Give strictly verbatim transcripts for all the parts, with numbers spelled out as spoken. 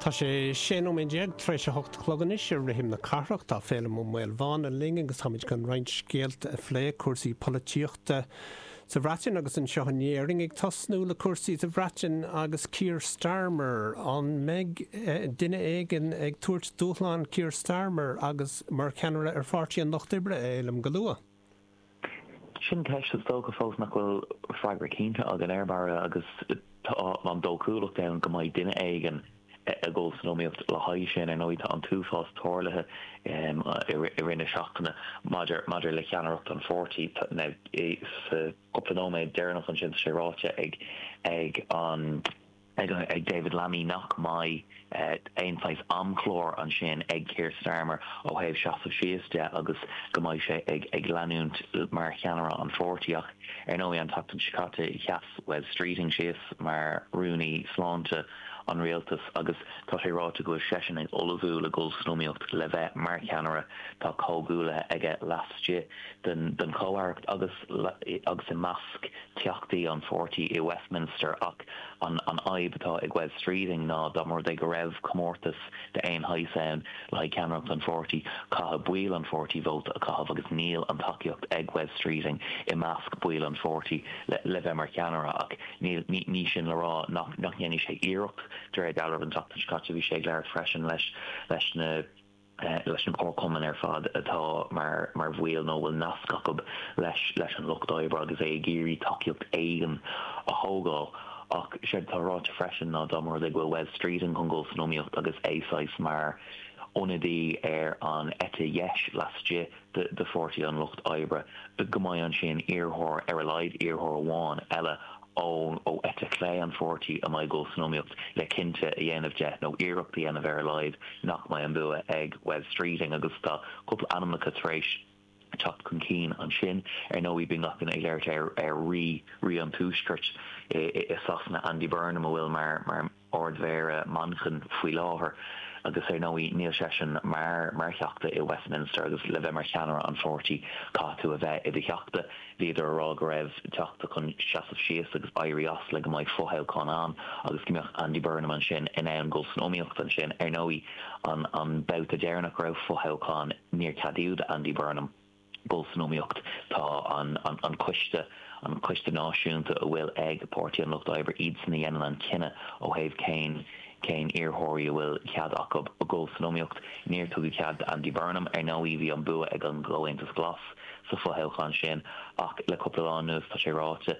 Tá sé sé nóiméad déag tar éis a hocht a chlog anois ar Rithim na Cathrach. Tá Féilim Ó Maolmhána linn agus táimid chun roinnt scéalta a phlé, cúrsaí polaitíochta sa Bhreatain agus anseo in Éirinn. Ag tosnú le cúrsaí sa Bhreatain agus Keir Starmer. An mbeidh duine éigin ag tabhairt dúshlán Keir Starmer agus mar cheannaire ar Pháirtí an Lucht Oibre, a Fhéilim, go luath? Sin ceist is dócha fós nach bhfuil freagra cinnte againn air, Barra, agus tá an dóchúlacht ann go mbeidh duine éigin ag dul san iomaíocht le haghaidh sin. Ar ndóigh, tá an t-uafás tarlaithe i rith na seachtaine maidir maidir le ceannaireacht an pháirtí. Sa chúpla nóiméad deireanach ansin, tá sé ráite ag ag an ag David Lammy nach mbeidh aon saghas amchlár ansin ag Keir Starmer ó thaobh seasamh síos de agus go mbeidh sé ag ag leanúint mar cheannaire an pháirtí. Ach ar ndóigh, an tseachtain seo caite, sheas Wes Streeting síos mar rúnaí sláinte an rialtais agus tá sé ráite go bhfuil seisean ag ullmhú le dul san iomaíocht le bheith mar cheannaire. Tá comhghuaillithe aige laistigh den den chomh-aireacht agus agus i measc teachtaí an pháirtí i Westminster, ach an an fhadhb atá ag Wes Streeting ná dá mba rud é go raibh comórtas d'aon shaghas ann le haghaidh ceannaireacht an pháirtí, caithfidh baill an pháirtí vóta a chaitheamh agus níl an tacaíocht ag Wes Streeting i measc baill an pháirtí le le bheith mar cheannaire. Ach níl ní sin le rá nach nach ndéanfaidh sé iarracht. De réir dealraimh, an tseachtain seo caite bhí sé ag labhairt freisin leis leis na leis na comharchumainn ar fad atá mar mar bhaill nó a bhfuil nasc acu leis leis an Lucht Oibre agus é ag iarraidh tacaíocht éigin a thógáil. Ach séard atá ráite freisin ná dá mba rud é go bhfuil Wes Streeting chun dul san iomaíocht agus é saghas mar ionadaí ar an eite dheis laistigh de Pháirtí an Lucht Oibre, go mbeidh ansin iarrthóir, ar a laghad iarrthóir amháin eile ó ó eite chlé an pháirtí a mbeidh ag dul san iomaíocht le cinnte a dhéanamh de, nó iarracht a dhéanamh ar a laghad, nach mbeidh an bua ag Wes Streeting. Agus tá cúpla ainmneacha tar éis teacht chun cinn ansin. Ar ndóigh, bíonn gach duine ag labhairt ar ar rí rí an Tuaiscirt i i Sasana, Andy Burnham, a bhfuil mar mar Ard-Mhéara Manchain faoi láthair, agus ar ndóigh níl seisean mar mar theachta i Westminster, agus le bheith mar cheannaire an pháirtí caithfidh tú a bheith i do theachta. Bhíodar a rá go raibh teachta chun seasamh síos agus éirí as le go mbeidh fothoghchán ann agus go mbeadh Andy Burnham ansin in ann dul san iomaíocht ansin. Ar ndóigh, an an babhta deireanach go raibh fothoghchán, níor ceadaíodh d'Andy Burnham dul san iomaíocht. Tá an an coiste, an coiste náisiúnta a bhfuil ag Páirtí an Lucht Oibre, iadsan a dhéanann an cinneadh ó thaobh cén cén iarrthóirí a bhfuil cead acu dul san iomaíocht. Níor tugadh cead d'Andy Burnham. Ar ndóigh, bhí an bua ag an gComhaontas Glas sa fothoghchán sin, ach le cúpla lá anuas tá sé ráite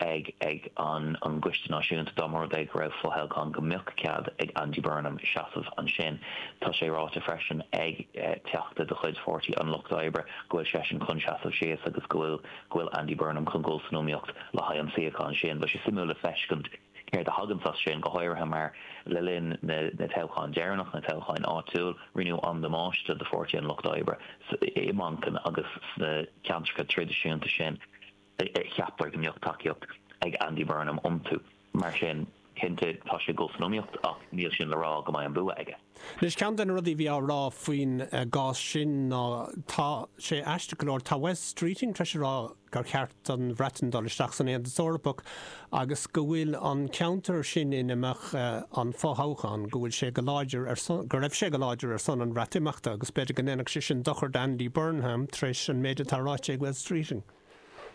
ag ag an an gCoiste Náisiúnta dá mba rud é go raibh fothoghchán go mbeadh cead ag Andy Burnham seasamh ansin. Tá sé ráite freisin ag teachta de chuid Pháirtí an Lucht Oibre go bhfuil seisean chun seasamh síos agus go bhfuil go bhfuil Andy Burnham chun dul san iomaíocht le haghaidh an suíochán sin. Beidh sé suimiúil le feiscint céard a thaganns as sin, go háirithe mar le linn na na toghcháin deireanach, na toghcháin áitiúil, rinneadh an-damáiste do Pháirtí an Lucht Oibre i Manchain agus sna ceantracha traidisiúnta sin. Cheaptar go mbeadh tacaíocht ag Andy Burnham iontu. Mar sin, cinnte, tá sé ag dul san iomaíocht ach níl sin le rá go mbeidh an bua aige. Anois, ceann de na rudaí a bhí á rá faoin gcás sin ná, tá sé aisteach go leor, tá Wes Streeting tar éis a rá gur cheart don Bhreatain dul isteach san Aontas Eorpach agus go bhfuil an ceantar sin ina mbeadh an fothoghchán, go bhfuil sé go láidir ar son, go raibh sé go láidir ar son an Bhreatimeachta agus b'fhéidir go ndéanfadh sé sin dochar d'Andy Burnham tar éis an méid atá ráite ag Wes Streeting.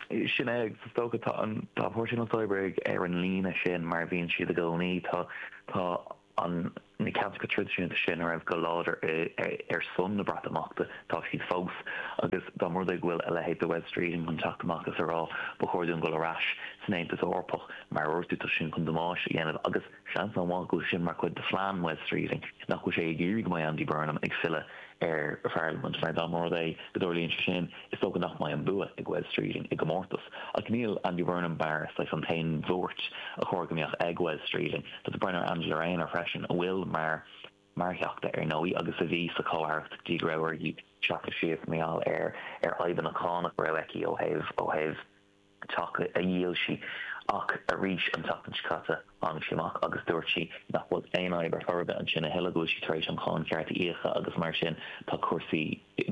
Sin é, agus is dócha tá an tá Páirtí an Lucht Oibre ar an líne sin mar a bhíonn siad i gcónaí. Tá tá an na ceantracha traidisiúnta sin a raibh go láidir ar son na Breatimeachta, tá siad fós. Agus dá mba rud é go bhfuil a leithéid de Wes Streeting chun teacht amach is a rá ba chóir dúinn dul ar ais san Aontas Eorpach, mar a dúirt tú, tá sin chun damáiste a dhéanamh. Agus seans an-mhaith go bhfuil sin mar chuid de phlean Wes Streeting, nach bhfuil sé ag iarraidh go mbeidh Andy Burnham ag filleadh ar Pharlaimint, mar dá mba rud é go dtarlaíonn sé sin, is dócha nach mbeidh an bua ag Wes Streeting i gcomórtas. Ach níl Andy Burnham mar saghas an t-aon bhuairt a chóir go mbeadh ag Wes Streeting. Tá tú ag breathnú ar Angela Rayner freisin, a bhfuil mar mar theachta ar ndóigh agus a bhí sa chomh-aireacht go dtí go raibh uirthi seasamh síos mar gheall ar ar fhadhbanna cánach a raibh aici ó thaobh ó thaobh teach a dhíol sí. Ach arís an tseachtain seo caite tháinig sí amach agus dúirt sí nach bhfuil aon fhadhb ar chor ar bith ansin a thuilleadh, go bhfuil sí tar éis an cháin cheart a íoc agus mar sin tá cúrsaí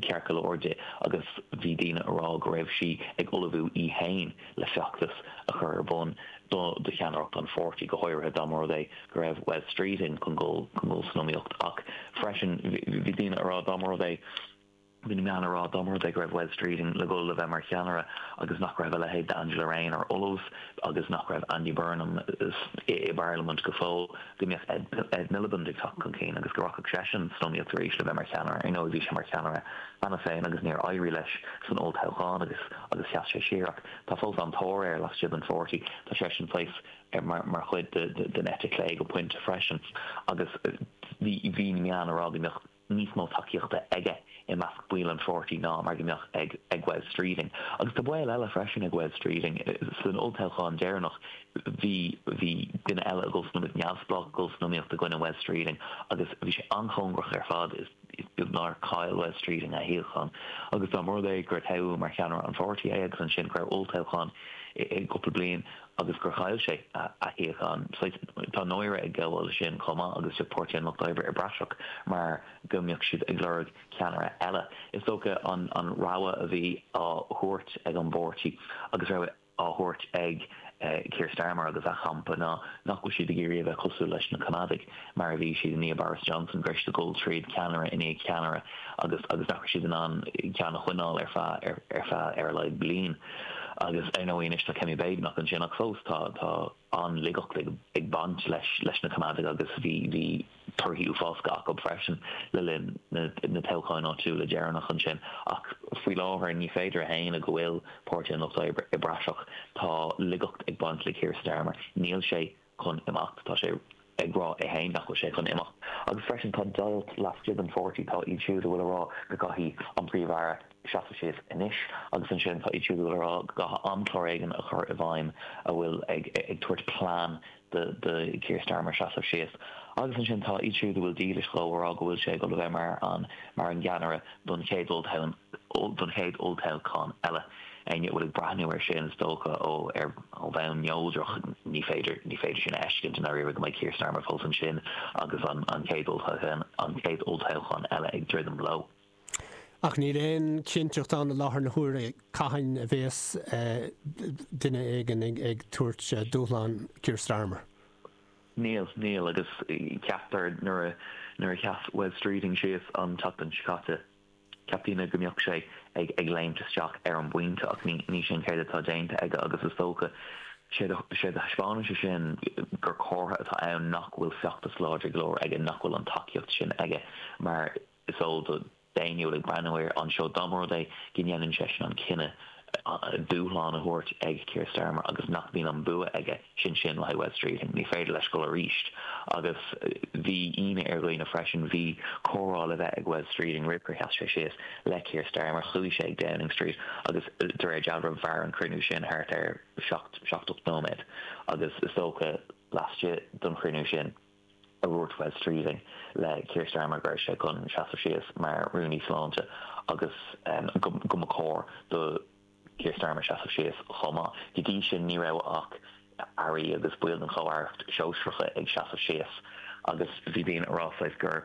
ceart go leor di agus bhí daoine a rá go raibh sí ag ullmhú í féin le feachtas a chur ar bun do do cheannaireacht an pháirtí, go háirithe dá mba rud é go raibh Wes Streeting chun dul chun dul san iomaíocht ach freisin bhí daoine a rá dá mba rud é Bhí na meáin ag rá dá mba rud é go raibh Wes Streeting le dhul le bheith mar cheannaire agus nach raibh a leithéid d'Angela Rayner ullamh agus nach raibh Andy Burnham i bParlaimint go fóill, go mbeadh Ed Miliband ag teacht chun cinn agus go rachadh seisean san iomaíocht arís le bheith mar cheannaire. Ar ndóigh bhí sé mar cheannaire cheana féin agus níor éirigh leis san olltoghchán agus agus sheas sé siar ach tá fós an-tóir air laistigh den pháirtí. Tá seisean saghas mar chuid den eite chlé go pointe freisin agus bhí bhí na meáin ag rá go mbeadh níos mó tacaíochta aige i measc baill an pháirtí ná mar go mbeadh ag ag Wes Streeting. Agus tá baol eile freisin ag Wes Streeting. San olltoghchán deireanach bhí bhí duine eile ag dul san iomaíocht, neamhspleách ag dul san iomaíocht i gcoinne Wes Streeting agus bhí sé an-chóngarach ar fad, is beag nár chaill Wes Streeting a shuíochán. Agus dá mba rud é gur toghadh mar cheannaire an pháirtí é agus ansin go raibh olltoghchán i gcúpla bliain agus gur chaill sé a shuíochán, tá náire ag gabháil leis sin chomh maith agus bheadh Páirtí an Lucht Oibre i bpraiseach mar go mbeadh siad ag lorg ceannaire eile. Is dócha an an rogha a bhí á thabhairt ag an bpáirtí agus rogha á thabhairt ag Keir Starmer agus a champa ná nach bhfuil siad ag iarraidh a bheith cosúil leis na Coimeádaigh mar a bhí siad i ndiaidh Boris Johnson, go raibh siad ag dul tríd ceannaire i ndiaidh ceannaire agus agus nach raibh siad in ann ceann a choinneáil ar feadh ar feadh ar a laghad bliain. Agus ar ndóigh anois tá Kemi Badenoch ansin ach fós tá tá an-laigeacht ag ag baint leis leis na Coimeádaigh agus bhí bhí torthaí uafásacha acu freisin le linn na na toghcháin áitiúla deireanach ansin. Ach faoi láthair ní féidir a shéanadh go bhfuil Páirtí an Lucht Oibre i bpraiseach. Tá laigeacht ag baint le Keir Starmer. Níl sé chun imeacht. Tá sé ag rá é féin nach bhfuil sé chun imeacht. Agus freisin tá deighilt laistigh den pháirtí, tá iad siúd a bhfuil ag rá go gcaithfidh an Príomh-Aire seasamh síos anois agus ansin tá iad siúd a bhfuil ag rá go gcaithfidh amchlár éigin a chur i bhfeidhm a bhfuil ag ag tabhairt plean do do Keir Starmer seasamh síos. Agus ansin tá iad siúd a bhfuil dílis dhó ag rá go bhfuil sé ag dul a bheith mar an mar an gceannaire don chéad olltoghchán don chéad olltoghchán eile. Éinne a bhfuil ag breathnú air sin, is dócha, ó ar ó bhonn neodrach, ní féidir ní féidir sin a fheiscint i ndáiríre go mbeidh Keir Starmer fós ansin agus an an chéad olltoghchán an chéad olltoghchán eile ag druidim leo. Ach níl aon chinnteacht ann i láthair na huaire cathain a bheas duine éigin ag ag tabhairt dúshlán Keir Starmer. Níl, níl, agus ceaptar nuair a nuair a sheas Wes Streeting síos an tseachtain seo caite, Cheap daoine go mbeadh sé ag ag léimt isteach ar an bpointe ach ní ní sin céard atá déanta aige agus is dócha séard a séard a thaispeánann sé sin gur comhartha atá ann nach bhfuil feachtas láidir go leor aige, nach bhfuil an tacaíocht sin aige mar is eol do d'éinne a bhfuil ag breathnú air anseo dá mba rud é go ndéanann seisean an cinneadh dúshlán a thabhairt ag Keir Starmer agus nach mbíonn an bua aige, sin sin le haghaidh Wes Streeting. Ní féidir leis dul arís. Agus bhí ionadh ar dhaoine freisin, bhí comhrá le bheith ag Wes Streeting roimh gur sheas sé síos le Keir Starmer. Chuaigh sé ag Downing Street agus de réir dealraimh mhair an cruinniú sin thart ar seacht, seacht, ocht nóiméad agus is dócha laistigh den chruinniú sin, a dhúirt Wes Streeting le Keir Starmer go raibh sé chun seasamh síos mar Rúnaí Sláinte agus go mba chóir do Keir Starmer seasamh síos chomh maith. Go dtí sin ní raibh ach airí agus baill den chomh-aireacht shóisearacha ag seasamh síos agus bhí daoine ag rá saghas gur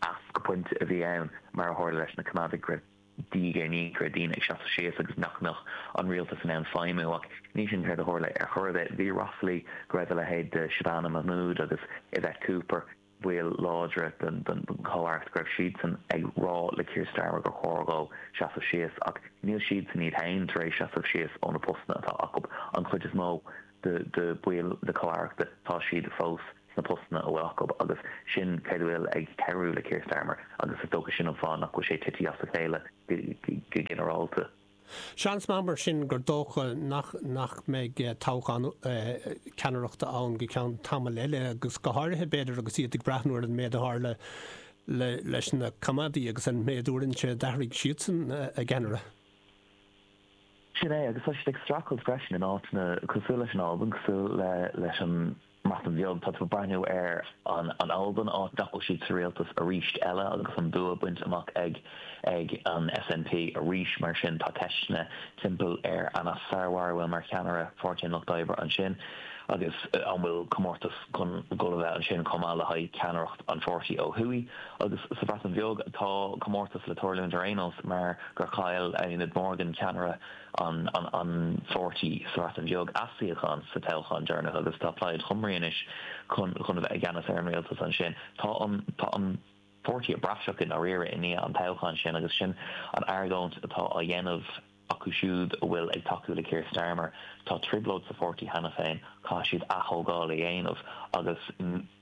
as go pointe a bhí ann mar a tharla leis na Coimeádaigh go raibh diaidh ar ndiaidh go raibh daoine ag seasamh síos agus nach mbeadh an rialtas in ann feidhmiú ach ní sin céard a tharla ar chor ar bith. Bhí ráflaí go raibh a leithéid de Shabana Mahmood agus Yvette Cooper, baill láidre den chomh-aireacht, go raibh siadsan ag rá le Keir Starmer gur chóir dhó seasamh síos ach níl siadsan iad féin tar éis seasamh síos ó na postanna atá acu. An chuid is mó de bhaill na comh-aireachta, tá siad fós sna postanna a bhfuil acu agus sin céard a bhfuil ag cabhrú le Keir Starmer agus is dócha sin an fáth nach bhfuil sé tite as a chéile go ginearálta. Seans maith mar sin gur dócha nach nach mbeidh toghchán ceannaireachta ann go ceann tamaill eile agus go háirithe b'fhéidir agus iad ag breathnú ar an méid a tharla leis na Coimeádaigh agus an méid uaireanta a d'athraigh siadsan a gceannaire. Sin é, agus tá siad ag streachailt freisin in áiteanna cosúil leis an Albain, cosúil le leis an mBreatain Bheag, tá tú ag breathnú ar an an Albain, áit nach bhfuil siad sa rialtas arís eile agus an bua bainte amach ag ag an S N P arís. Mar sin tá ceisteanna timpeall ar Anas Sarwar, a bhfuil mar cheannaire Pháirtí an Lucht Oibre ansin, agus an bhfuil comórtas chun dul a bheith ansin chomh maith le haghaidh ceannaireacht an pháirtí ó thuaidh. Agus sa Bhreatain Bheag tá comórtas le tarlúint ar aon nós, mar gur chaill Eluned Morgan, ceannaire an an an pháirtí sa Bhreatain Bheag, a suíochán sa toghchán deireanach agus tá Plaid Cymru anois chun chun a bheith i gceannas ar an rialtas ansin. Tá an tá an páirtí i bpraiseach i ndáiríre i ndiaidh an toghcháin sin, agus sin an argóint atá á dhéanamh acu siúd a bhfuil ag tacú le Keir Starmer. Tá trioblóid sa pháirtí cheana féin, caithfidh siad atógáil a dhéanamh agus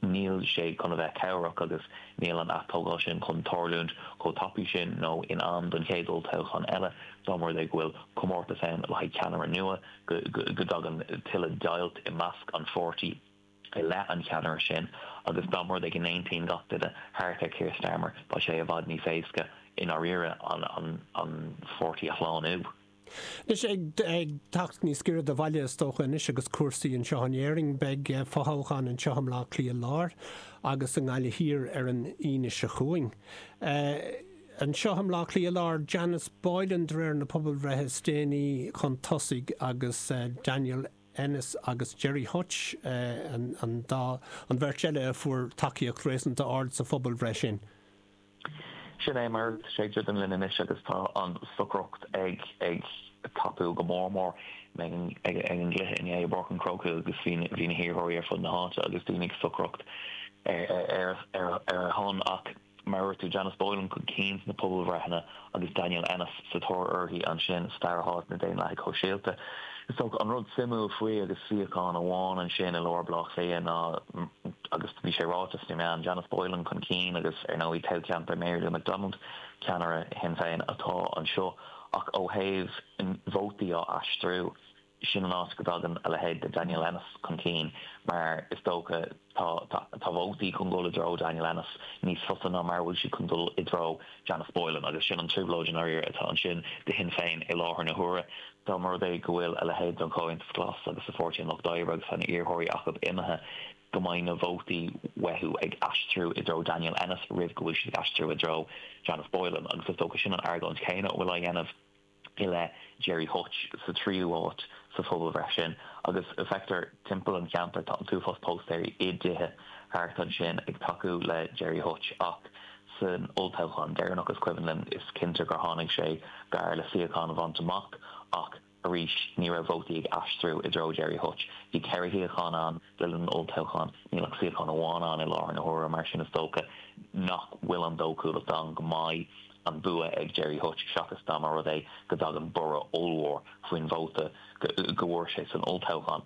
níl sé chun a bheith cabhrach agus níl an atógáil sin chun tarlúint chomh tapaidh sin nó in am don chéad olltoghchán eile dá mba rud é go bhfuil comórtas ann le haghaidh ceannaire nua, go dtagann tuilleadh deighilt i measc an pháirtí i leith an cheannaire sin, agus dá mba rud é go n-aontaíonn gach duine thart ar Keir Starmer, beidh sé i bhfad níos éasca i ndáiríre an an an pháirtí a shlánú. Anois ag ag teacht níos giorra do bhaile, is dócha, anois agus cúrsaí anseo in Éirinn, beidh fothoghchán anseo i mBleá Cliath Láir agus i nGaillimh Thiar ar an Aoine seo chugainn. Anseo i mBleá Cliath Láir, Janice Boylan de réir na pobalbhreithe is déanaí chun tosaigh agus Daniel Ennis agus Gerry Hutch an an dá an bheirt eile a fuair tacaíocht réasúnta ard sa phobalbhreith sin. Sin é, mar sé den linn anois agus tá an stocaireacht ag ag tapú go mór mór ag ag an gcluiche inné i bPáirc an Chrócaigh agus bhí bhí na hiarrthóirí ar fud na háite agus daoine ag stocaireacht ar ar ar a shon. Ach mar tú, Janice Boylan chun cinn na pobalbhreitheanna agus Daniel Ennis sa tóir uirthi ansin sa dara háit, na Daonlathaigh Shóisialta. Is an rud suimiúil faoi agus suíochán amháin ansin i lár Bhleá Cliath ná, agus bhí sé ráite sna meáin, Janice Boylan chun cinn agus ar ndóigh toghcheantar Mary Lou McDonald, ceannaire Shinn Féin, atá anseo, ach ó thaobh vótaí á aistriú, sin an áit go dtagann a leithéid de Daniel Ennis chun cinn, mar is dócha tá tá vótaí chun dul i dtreo Daniel Ennis níos fusa ná mar bhfuil siad chun dul i dtreo Janice Boylan, agus sin an trioblóid atá ansin do Shinn Féin i láthair na huaire. Dá mba rud é go bhfuil a leithéid den Chomhaontas Glas agus sa Pháirtí an Lucht Oibre agus an iarrthóirí acu imithe, go mbeidh na vótaí uathu ag aistriú i dtreo Daniel Ennis roimh go bhfuil siad ag aistriú i dtreo Janice Boylan, agus is dócha sin an argóint chéanna a bhfuil á dhéanamh i leith Gerry Hutch sa tríú háit sa phobalbhreith sin. Agus feictear timpeall an cheantair tá an t-uafás póstaeirí i dtithe thart ansin ag tacú le Gerry Hutch, ach san olltoghchán deireanach, is cuimhin linn, is cinnte gur tháinig sé gar le suíochán a bhaint amach, ach arís ní raibh vótaí ag aistriú i dtreo Gerry Hutch. Bhí ceithre shuíochán ann le linn an olltoghchán, níl ach suíochán amháin ann i láthair na huaire. Mar sin is dócha nach bhfuil an dóchúlacht ann go mbeidh an bua ag Gerry Hutch seachas dá mba rud é go dtagann borradh ollmhór faoin vóta go bhfuair sé san olltoghchán.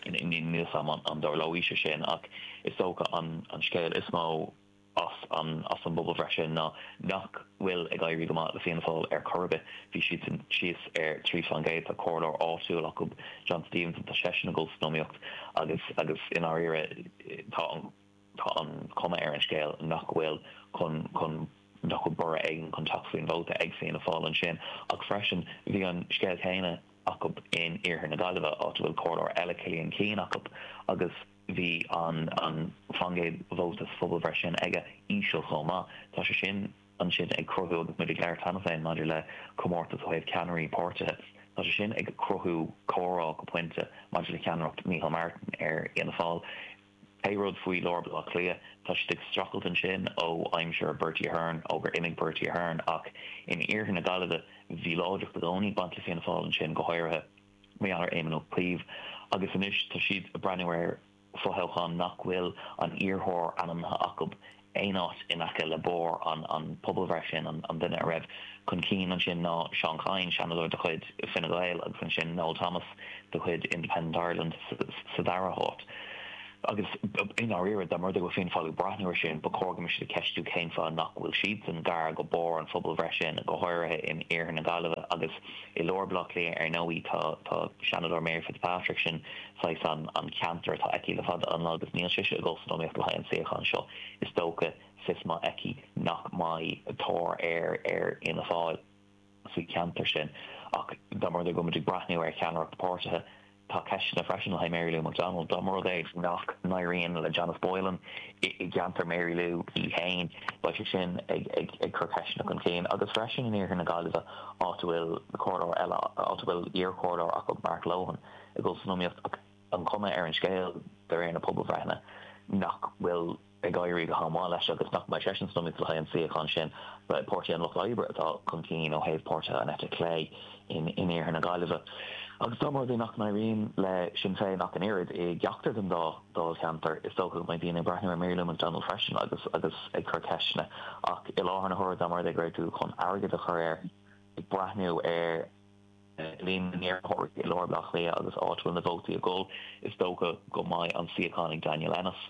Níl am an dtarlóidh sé sin, ach is dócha an an scéal is mó as an as an bpobalbhreith sin ná nach bhfuil ag éirí go maith le Fianna Fáil ar chor ar bith. Bhí siad sin síos ar trí faoin gcéad. Tá comhairleoir áitiúil acu, John Stevenson, tá seisean ag dul san iomaíocht agus agus i ndáiríre tá an tá an chuma ar an scéal nach bhfuil chun chun nach bhfuil borradh éigin chun teacht faoin vóta ag Fianna Fáil ansin. Ach freisin bhí an scéal céanna acu in iarthar na Gaillimhe, áit a bhfuil comhairleoir eile, Cillian Keane, acu, agus bhí an an faoin gcéad vóta sa phobalbhreith sin aige íseal chomh maith. Tá sé sin ansin ag cruthú, agus muid ag labhairt cheana féin maidir le comórtas ó thaobh ceannairí páirtithe, tá sé sin ag cruthú comhrá go pointe maidir le ceannaireacht Micheál Martin ar Fhianna Fáil. Pé rud faoi lár Bhaile Átha Cliath, tá siad ag streachailt ansin ó aimsir Bertie Ahern, ó gur imigh Bertie Ahern, ach in iarthar na Gaillimhe bhí láidreacht i gcónaí ag baint le Fianna Fáil ansin, go háirithe mar gheall ar Éamon Ó Cuív, agus anois tá siad ag breathnú ar fothoghchán nach bhfuil an iarrthóir ainmnithe acu aon áit in aice le barr an an phobalbhreith sin. an an duine a raibh chun cinn ansin ná Seán Kyne, seanadóir de chuid Fine Gael, agus ansin Noel Thomas de chuid Independent Ireland sa dara háit. Agus i ndáiríre, dá mba rud é go bhfuil Fianna Fáil ag breathnú air sin, ba chóir go mbeadh siad ag ceistiú cén fáth nach bhfuil siadsan gar go barr an phobalbhreith sin, go háirithe in iarthar na Gaillimhe agus i lár Bhaile Átha Cliath. Ar ndóigh tá tá Seanadóir Mary Fitzpatrick, sin saghas an an ceantar atá aici le fada an lá, agus níl sise ag dul san iomaíocht le haghaidh an suíochán seo. Is dócha fios maith aici nach mbeidh tóir ar ar Fhianna Fáil sa cheantar sin. Ach dá mba rud é go muid ag breathnú ar cheannaireacht páirtithe, tá ceisteanna freisin le haghaidh Mary Lou McDonald dá mba rud é nach n-éiríonn le Janice Boylan i gceantar Mary Lou í féin beidh sé sin ag ag ag cur ceisteanna chun cinn agus freisin in iarthar na Gaillimhe áit a bhfuil comhairleoir eile áit a bhfuil iarchomhairleoir acu Mark Lohan ag dul san iomaíocht ach an chuma ar an scéal de réir na pobalbhreitheanna nach bhfuil ag éirí go han-mhaith leis agus nach mbeidh seisean san iomaíocht le haghaidh an suíochán sin. Páirtí an Lucht Oibre atá chun cinn ó thaobh páirtithe an eite chlé in in iarthar na Gaillimhe. Agus dá mba rud é nach n-éiríonn le Sinn Féin ach an oiread i gceachtar den dá dáilcheantar, is dócha go mbeidh daoine ag breathnú ar Mary Lou McDonald freisin agus agus ag cur ceisteanna. Ach i láthair na huaire dá mba rud é go raibh tú chun airgead a chur air, ag breathnú ar líon na n-iarrthóirí i lár Bhaile Átha Cliath agus áit a bhfuil na vótaí ag dul, is dócha go mbeidh an suíochán ag Daniel Ennis.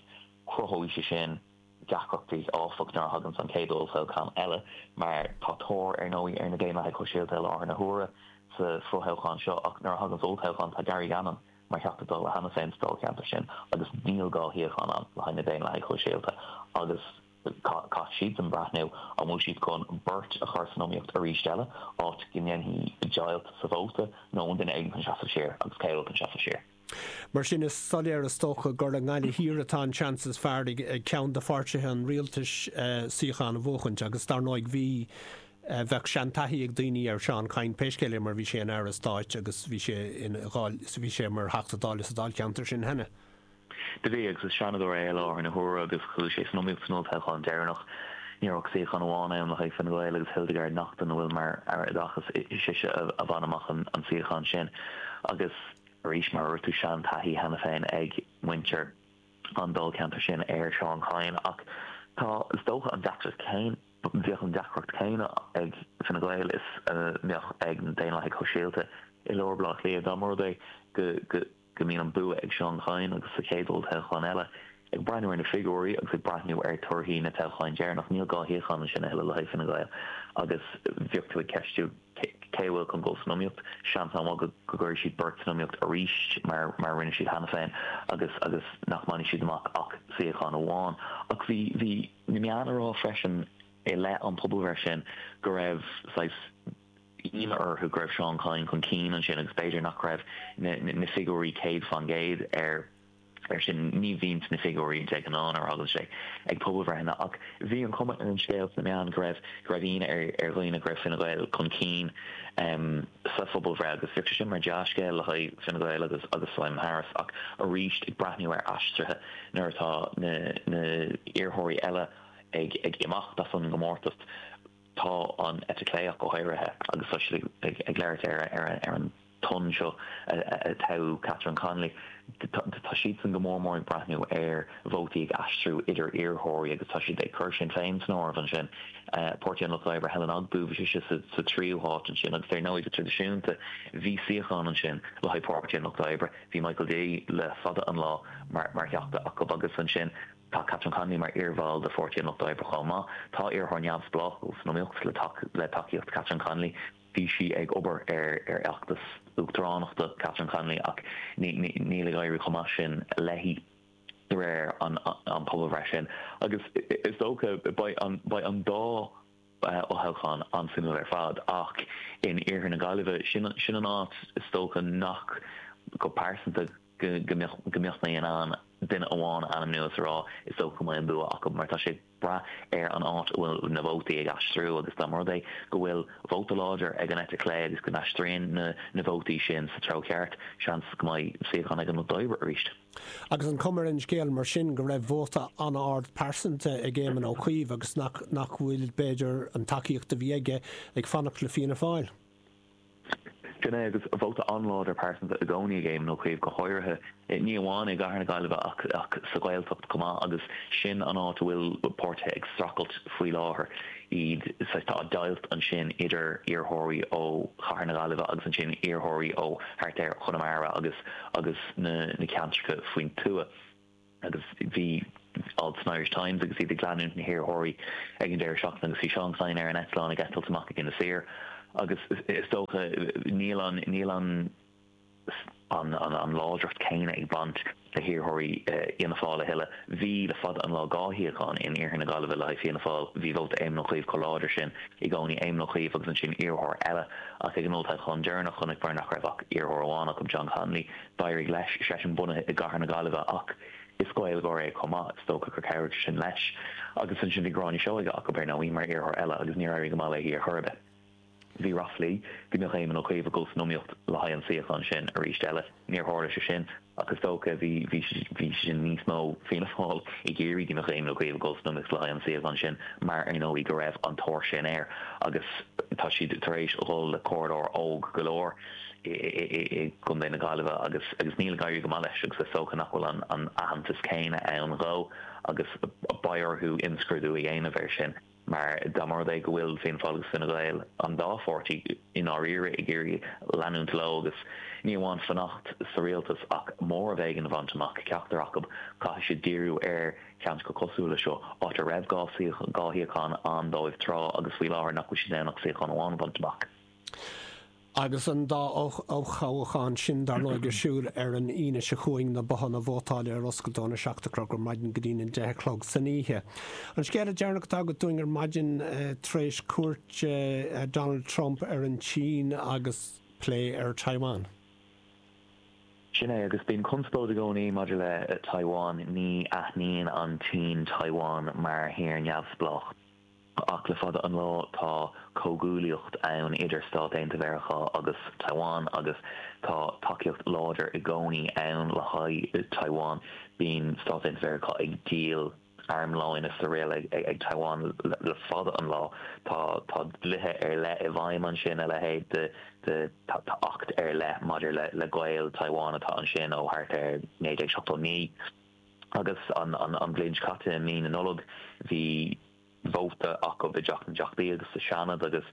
Cruthóidh sé sin deacrachtaí, áfach, nuair a thaganns an chéad olltoghchán eile, mar tá tóir, ar ndóigh, ar na Daonlathaigh Shóisialta i láthair na huaire sa fothoghchán seo, ach nuair a thaganns olltoghchán tá Gary Gannon mar Theachta Dála cheana féin sa dáilcheantar sin agus níl dhá shuíochán ann le haghaidh na Daonlathaigh Shóisialta agus caithfidh siadsan breathnú an bhfuil siad chun beirt a chur san iomaíocht arís eile, áit go ndéanfaidh deighilt sa vóta, nó an duine éigin chun seasamh siar agus cé a bhfuil chun seasamh siar. Mar sin is soiléir is dócha gur i nGaillimh Thiar atá an seans is fearr ag ceann de pháirtithe an rialtais suíochán a bhuachaint agus dar ndóigh bhí bheadh seantaithí ag daoine ar Seán Kyne pé scéal é mar bhí sé ina Aire Stáit agus bhí sé ina bhí sé mar Theachta Dála sa Dáilcheantar sin cheana. Do bhí, agus is Seanadóir é i láthair na huaire agus chuaigh sé san iomaíocht san olltoghchán deireanach. Ní raibh ach suíochán amháin ann le haghaidh Fine Gael agus Hildegarde Naughton a bhfuil mar Aire Oideachais, is ise a bhain amach an suíochán sin. Agus arís, mar a dúirt tú, sean-taithí cheana féin ag muintir an dáilcheantair sin ar Seán Kyne. Ach tá, is dócha, an deacracht chéanna, bheadh an deacracht chéanna ag Fine Gael is a mbeadh ag na Daonlathaigh Shóisialta i lár Bhaile Átha Cliath dá mba rud é go go mbíonn an bua ag Seán Kyne agus sa chéad olltoghchán eile, ag breathnú ar na figiúirí agus ag breathnú ar torthaí na toghcháin deireanach, níl dhá shuíochán ansin a thuilleadh le haghaidh Fine Gael agus bheadh tú ag ceistiú cé a bhfuil chun dul san iomaíocht. Seans an-mhaith go gcuirfidh siad beirt san iomaíocht arís mar mar a rinne siad cheana féin agus agus nach mbainfidh siad amach ach suíochán amháin. Ach bhí bhí na meáin ag rá freisin i leith an pobalbhreith sin go raibh saghas ionadh orthu go raibh Seán Kyne chun cinn ansin agus b'fhéidir nach raibh na figiúirí céad faoin gcéad ar ar sin. Ní bhíonns na figiúirí de ghnáth nuair a thagann sé ag pobalbhreitheanna ach bhí an chuma ar an scéal sna meáin go raibh go raibh ionadh ar ar dhaoine go raibh Fine Gael chun cinn sa phobalbhreith agus bheadh sé sin mar dea-scéal le haghaidh Fine Gael agus agus Simon Harris ach arís ag breathnú ar aistrithe nuair atá na na iarrthóirí eile ag ag imeacht as an gcomórtas. Tá an eite chlé ach go háirithe, agus tá siad ag labhairt ar an tonn seo a toghadh Catherine Connolly, tá siadsan go mór mór ag breathnú ar vótaí ag aistriú idir iarrthóirí agus tá siad ag cur Sinn Féin san áireamh ansin. Páirtí an Lucht Oibre, Helen Ogbu, bhí sise sa tríú háit ansin agus ar ndóigh go traidisiúnta bhí suíochán ansin le haghaidh Páirtí an Lucht Oibre, bhí Michael D le fada an lá mar Theachta acu agus ansin Tá Catherine Connolly mar iarbhall de Pháirtí an Lucht Oibre chomh maith. Tá iarrthóir neamhspleách san iomaíocht le tacaíocht Catherine Connolly. Bhí sí ag obair ar fheachtas uachtaránachta Catherine Connolly ach níl ag éirí chomh maith sin léi de réir an pobalbhreith sin. Agus is dócha beidh an dá fhothoghchán an-suimiúil ar fad ach in iarthar na Gaillimhe, sin an áit is dócha nach, go pearsanta, go mbeadh mé in ann duine amháin a ainmniú is a rá is dócha go mbeidh an bua acu mar tá sé ag brath ar an áit a bhfuil na vótaí ag aistriú agus dá mba rud é go bhfuil vóta láidir ag an eite chlé agus go n-aistríonn na vótaí sin sa treo ceart, seans go mbeidh suíochán ag an Lucht Oibre arís. Agus an cuma ar an scéal mar sin go raibh vóta an-ard pearsanta ag Éamon Ó Cuív agus nach bhfuil, b'fhéidir, an tacaíocht a bhí aige ag fanacht le Fianna Fáil. Sin é, agus vóta an-láidir pearsanta i gcónaí ag Éamon Ó Cuív, go háirithe, ní amháin i gcathair na Gaillimhe ach ach sa Ghaeltacht chomh maith, agus sin an áit a bhfuil páirtithe ag streachailt faoi láthair, iad, saghas, tá deighilt ansin idir iarrthóirí ó chathair na Gaillimhe agus ansin iarrthóirí ó thart ar Chonamara agus agus na na ceantracha faoin tuath. Agus bhí alt san Irish Times agus iad ag leanúint na hiarrthóirí ag an deireadh seachtaine agus bhí Seán Kyne ar an eitleán ag eitilt amach ag Inis Oírr agus is dócha níl an níl an an, an, an láidreacht céanna ag baint le hiarrthóirí Fhianna Fáil a thuilleadh. Bhí le fada an lá dhá shuíochán in iarthar na Gaillimhe le haghaidh Fianna Fáil, bhí vóta Éamon Ó Cuív chomh láidir sin i gcónaí, Éamon Ó Cuív agus ansin iarrthóir eile, ach ag an olltoghchán deireanach chonaiceamar nach raibh ach iarrthóir amháin acu, John Connolly. D'éirigh leis, seisean bunaithe i gcathair na Gaillimhe ach is Gaeilgeoir é chomh maith, is dócha gur chabhraigh sin leis. Agus ansin bhí Gráinne Seoige acu ar ndóigh mar iarrthóir eile agus níor éirigh go maith léi ar chor ar bith. Bhí ráflaí go mbeadh Éamon Ó Cuív ag dul san iomaíocht le haghaidh an suíochán sin arís eile. Níor tharla sé sin ach is dócha bhí bhí bhí sin níos mó Fianna Fáil ag iarraidh go mbeadh Éamon Ó Cuív ag dul san iomaíocht le haghaidh an suíochán sin mar ar ndóigh go raibh an tóir sin air agus tá siad tar éis dhul le comhairleoir óg go leor i i gContae na Gaillimhe agus agus níl ag éirí go maith leis agus is dócha nach bhfuil an an aitheantas céanna ann dhó agus beidh orthu imscrúdú a dhéanamh air sin. Mar dá mba rud é go bhfuil Fianna Fáil agus Fine Gael, an dá pháirtí, i ndáiríre ag iarraidh leanúint leo agus ní amháin fanacht sa rialtas ach móramh éigin a bhaint amach, ceachtar acu, caithfidh siad díriú ar cheantracha cosúil le seo, áit a raibh dhá shuíochán ann dóibh tráth agus faoi láthair nach bhfuil siad in ann ach suíochán amháin a bhaint amach. Agus an dá olltoghchán sin, dar ndóigh, ar siúl ar an Aoine seo chugainn, na bothanna vótála ar oscailt óna seacht a chlog ar maidin go dtí'n a deich a chlog san oíche. An scéal deireanach atá agat dúinn ar maidin tar éis cuairt Donald Trump ar an tSín agus plé ar Taiwan. Sin é, agus bíonn conspóid i gcónaí maidir le Taiwan, ní aithníonn an tSín Taiwan mar thír neamhspleách. Ach le fada an lá tá comhghuaillíocht ann idir Stáit Aontaithe Mheiriceá agus Taiwan agus tá tacaíocht láidir i gcónaí ann le haghaidh Taiwan. Bíonn Stáit Aontaithe Mheiriceá ag díol armlóin is araile ag Taiwan le fada an lá. Tá tá dlíthe ar leith i bhfeidhm ansin, a leithéid de de tá acht ar leith maidir le le gaol Taiwan atá ansin ó thart ar naoi déag seachtó naoi. Agus an an an bhliain seo caite i mí na Nollag bhí vóta acu i dTeach na dTeachtaí agus sa Seanad agus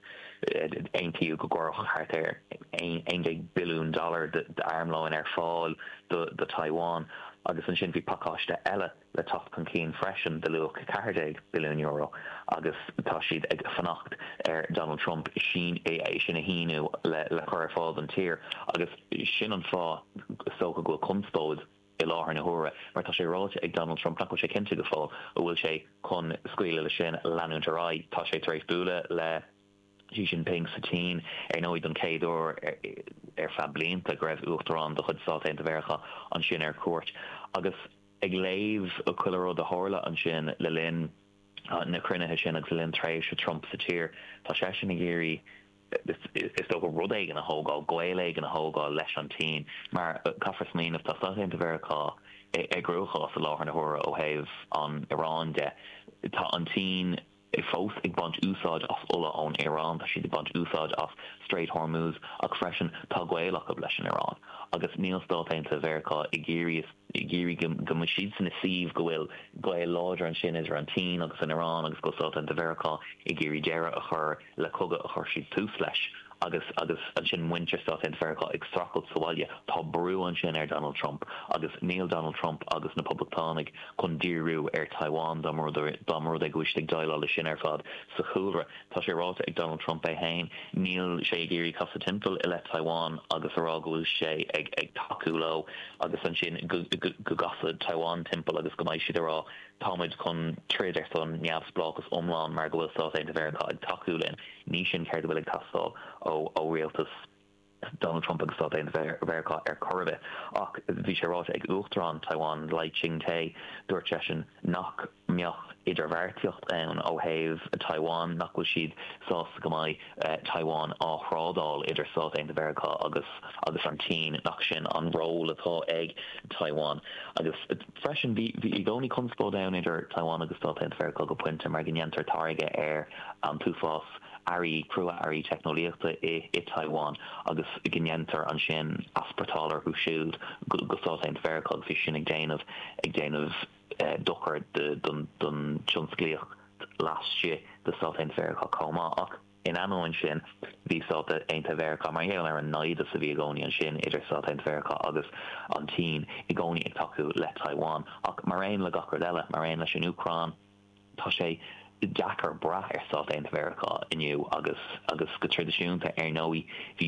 aontaíodh go gcuirfeadh thart ar aon déag billiún dollar d'armlóin ar fáil do Taiwan agus ansin bhí pacáiste eile le teacht chun cinn freisin de luach ceathair déag billiún euro agus tá siad ag fanacht ar Donald Trump sin é sin a shíniú le le cur ar fáil don tír agus sin an fáth is dócha go bhfuil conspóid i láthair na huaire, mar tá sé ráite ag Donald Trump nach bhfuil sé cinnte go fóill an bhfuil sé chun scaoileadh leis sin leanúint ar aghaidh. Tá sé tar éis bualadh le Xi Jinping sa tSín, ar ndóigh, don chéad uair ar feadh blianta go raibh uachtarán de chuid Stáit Aontaithe Mheiriceá ansin ar cuairt. Agus ag léamh chuile rud a tharla ansin le linn na cruinnithe sin agus le linn tréimhse Trump sa tír, tá seisean ag iarraidh is dócha, rud éigin a thógáil, gaol éigin a thógáil leis an tSín, mar caithfear smaoineamh, tá Stáit Aontaithe Mheiriceá i gcruachás i láthair na huaire ó thaobh an Iaráin de. Tá an tSín fós ag baint úsáid as ola ón Iaráin, tá siad ag baint úsáid as Strait Hormuz ach freisin tá gaol acu leis an Iaráin agus níl Stáit Aontaithe Mheiriceá ag iarraidh ag iarraidh go mbeidh siadsan ag suíomh go bhfuil gaol láidir ansin idir an tSín agus an Iaráin agus go bhfuil Stáit Aontaithe Mheiriceá ag iarraidh deireadh a chur le cogadh a chuir siad tús leis agus agus ansin muintir Stáit Aontaithe Mheiriceá ag streachailt sa bhaile. Tá brú ansin ar Donald Trump agus níl Donald Trump agus na Poblachtánaigh chun díriú ar Taiwan dá mba rud é go bhfuil siad ag déileáil leis sin ar fad sa chúlra. Tá sé ráite ag Donald Trump é féin, níl sé ag iarraidh casadh timpeall i leith Taiwan agus a rá go bhfuil sé ag ag tacú leo agus ansin go go gcasfaidh Taiwan timpeall agus go mbeidh siad ag rá táimid chun troid ar son neamhspleáchas iomlán mar go bhfuil Stáit Aontaithe Mheiriceá ag tacú linn. Ní sin céard a bhfuil ag teastáil ó ó rialtas Donald Trump agus Stáit Aontaithe Mheiriceá ar chor ar bith. Ach bhí sé ráite ag Uachtarán Taiwan, Lai Ching-te, dúirt seisean nach mbeadh idirbheartaíocht ann ó thaobh Taiwan, nach bhfuil siad sásta go mbeidh Taiwan á thrádáil idir Stáit Aontaithe Mheiriceá agus agus an tSín, nach sin an ról atá ag Taiwan. Agus freisin bhí bhí i gcónaí conspóid ann idir Taiwan agus Stáit Aontaithe Mheiriceá go pointe mar go ndéantar táirgeadh ar an t-uafás earraí crua-earraí teicneolaíochta i i Taiwan agus go ndéantar ansin easpórtáil orthu siúd go go Stáit Aontaithe Mheiriceá agus bhí sin ag déanamh ag déanamh dochar don don tionsclaíocht laistigh de Stáit Aontaithe Mheiriceá chomh maith. Ach in ainneoin sin, bhí Stáit Aontaithe Mheiriceá, mar gheall ar an naimhdeas a bhí i gcónaí ansin idir Stáit Aontaithe Mheiriceá agus an tSín, i gcónaí ag tacú le Taiwan. Ach mar aon le gach rud eile, mar aon leis an Úcráin, tá sé deacair brath ar Stáit Aontaithe Mheiriceá inniu agus agus go traidisiúnta, ar ndóigh, bhí